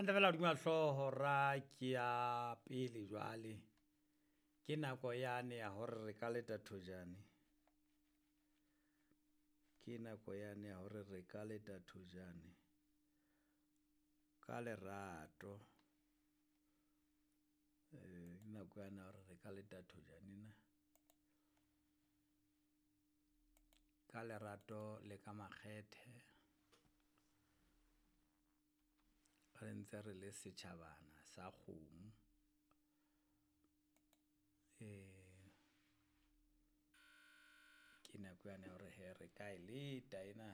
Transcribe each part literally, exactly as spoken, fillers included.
Hantle fela hodima hlooho ra ke ya pele jwale. Ke nako yane ya hore re ka leta thojane. Ke nako yane ya hore re ka leta thojane ka lerato. Eh ke nako yane ya hore re ka leta thojane na. Ka lerato le ka makgethe. Re ntse re le setjhabana sa kgomo. Eh ke nako yane ya hore hee re ka e leta ena.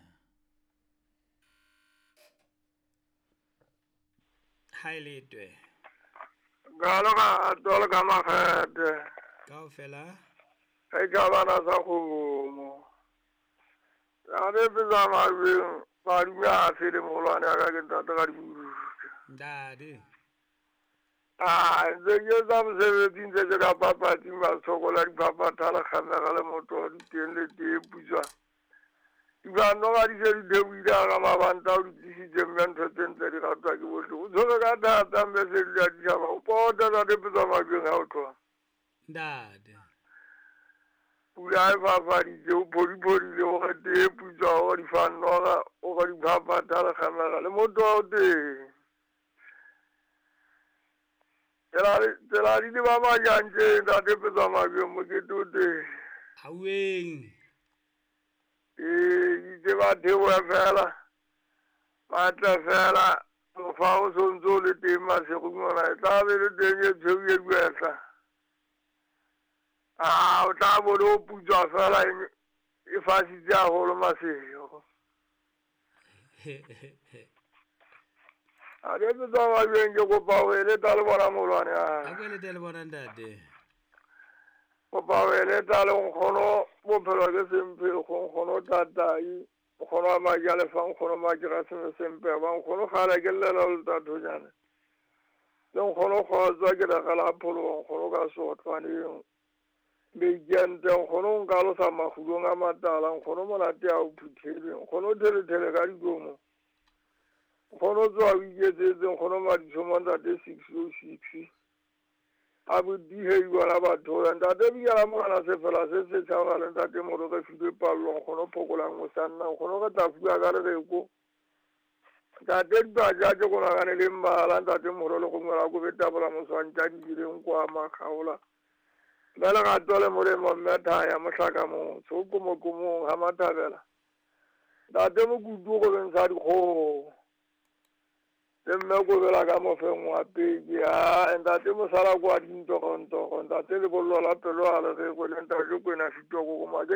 Ha e letwe. Ka lerato le ka makgethe. Kaofela. Setjhabana sa kgomo. Ntate Petsamakweng, madume a fele moholwane ya ka ke ntate ka dibuka. Ntate. Ah, ntse ke etsa mosebetsi ntse ke ka papatsing ba sokola diphaphatha le kgamega le motoho di teng le tee putswa. Dibano di se di theohile hara mabanta o di tlisitse mme ntho tse ntle di ratwa ke bohle. O tshwere ka thata mme se di a ditjhaba. O pota ntate Petsamakweng ha o tloha. Ntate. Pula e fafaditse, o phodiphodile, o re tee putswa, o re difannoga, o re diphaphatha le kgamega le motoho o teng. Tsela di le ba majantjeng ntate Petsamakweng mokete o teng. Hauweng. Ee, itse ba theohe fela, ba tle fela, mofa o sontso o le teng masigong mona, e tla be le teng e tshweu e kwehla. Ah, o tla bo le o putswa fela e fasitse haholo masego. A ke Petsamakweng ke kopa ho eleta le bona moholwane wa ka. A ko elete le bona ntate. Kopa ho eleta le nkgono bophelo ke semphekgo, nkgono tatai, nkgono wa Majalefa, nkgono Makeraseme Sempeba, nkgono kgale ke llela le tathonyane. Le nkgono kgotsa ke legela pholoho, nkgono ka sotlwaneng. Meikente, nkgono nka losa makgulong a matala, nkgono monate a o phuthelwe, nkgono thelethele ka dikomo. Nkgono tsoha o iketsetse, nkgono maditshomo ntate six oh six. A bodihedi bona batho ntate biyala morena sefela se setjha le ntate moro re filwe pallo nkgono phokolang mosanna nkgono re tla fuwa ka lereko. Ntate dibaja tse konakane le mmala ntate moro le gongwe la kobetabola moswantša dibileng kwa makgaola. Mme lerato le molemo mme thaya mohlaka motho o komokomong ha mathabela. Ntate mokutu go beng sa dikgoho. Le mme kobela ka mofeng wa peke, ah, ntate mosala kwa dintorontoro, ntate lebollo la pelo ha le rekwe, le ntate Kwena Fitoko ko